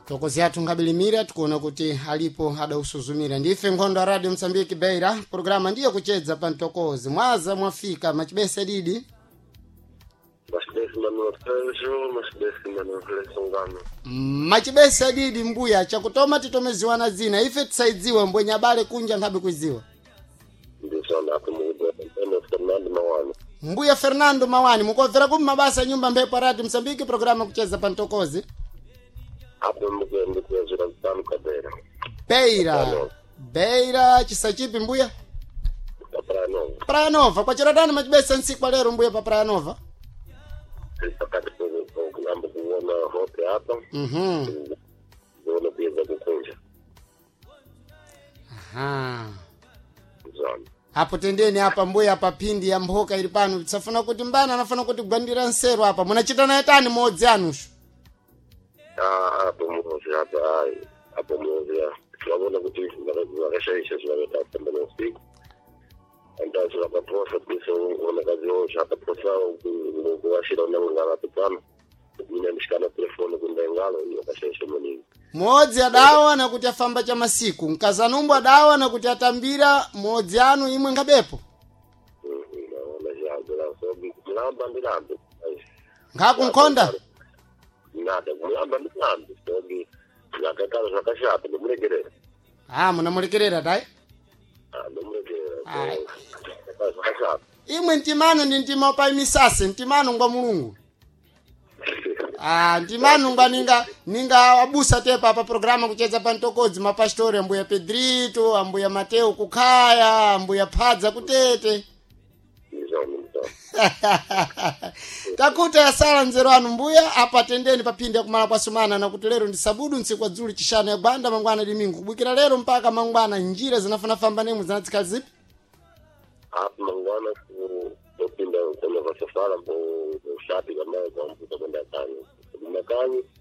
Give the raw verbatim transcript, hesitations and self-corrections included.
Tokozi athu nkabilimira, tikuona kuti alipo adausuzumira. Ndife nkhondo ya Radio Msambiki Beira, programa ndiyo Kuchedza pa Mtokozi. Mwaza mwafika, machibese didi? Machibese Manuel Pedro, machibese Manuel Lesongano. Machibese didi mbuya, chakutoma titomeziwana zina, ife tisaidziwe mbwenye abale kunja nkhabe kuiziwa. Ndisona apo mukudziwa Antonio Fernando Mawani. Mbuya Fernando Mawani, mukomvera kumi mabasa nyumba mphepo Radio Msambiki, programa Kucheza pa Mtokozi. Apo mukuenda kuyazira mtano kabera. Beira, Beira chisachipi mbuya? Praia Nova. Praia Nova. Kwachera dani machibesa ntsiku kwa lero mbuya pa Praia Nova? Pakati kuyamba kuona hope apa. Mhm. Kuona kuyeza kukunja. Aha. Zona. Apo tendeni apa mbuya, pa phindi ya mphoka ili pano, tisafuna kuti mbana anafuna kuti kugwandira nseru apa munachita naye tani modzi anushu? Ah, apo muzi apa ai. Apo muzi ya. Tunaona kuti vakashaisha zvakaita kufamba neusiku. Antazi vakaposa kuisa unakazi wosha akaposa kuvashira unangangavapitana. Mina ndishikana telefoni kundengalo vakashaisha maningi. Modzi adawa nakuti afamba cha masiku, mkazanumbu adawa nakuti atambira modzi anu, imwe ngabepo. Naona zvazo kumulamba ndilambe. Nkhakunkhonda. Nada kumulamba ndilambe. Sobi zvakaitaro zvakashata ndomuregerera. Ah, munamulekerera tayi. Ndomuregerera. Ai. Zvakashata. Imwe mtimano ndi mtima pa misase, mtimano ngwa Mulungu. Ah, ndimanu ngwa ninga ninga abusa tepa pa programa Kucheza pa Mtokodzi, mapastori ambuya Pedrito, ambuya Mateo kukhaya, ambuya Phadza kutete. Izvoni mutoro. Takuta yasala nzeru anu mbuya, apa tendeni paphindi yakumala kwa sumana, nakuti lero ndi sabudu ntsiku kwa dzuli chishanu ya gwanda, mangwana limingu. Kubwikira lero mpaka mangwana, njira zinafanafamba nemwe zinatsika zipi? Apa mangwana kupinda kona vasafara mbo ushapi kamaye kwambuka kwenda kanyi. Makanyi.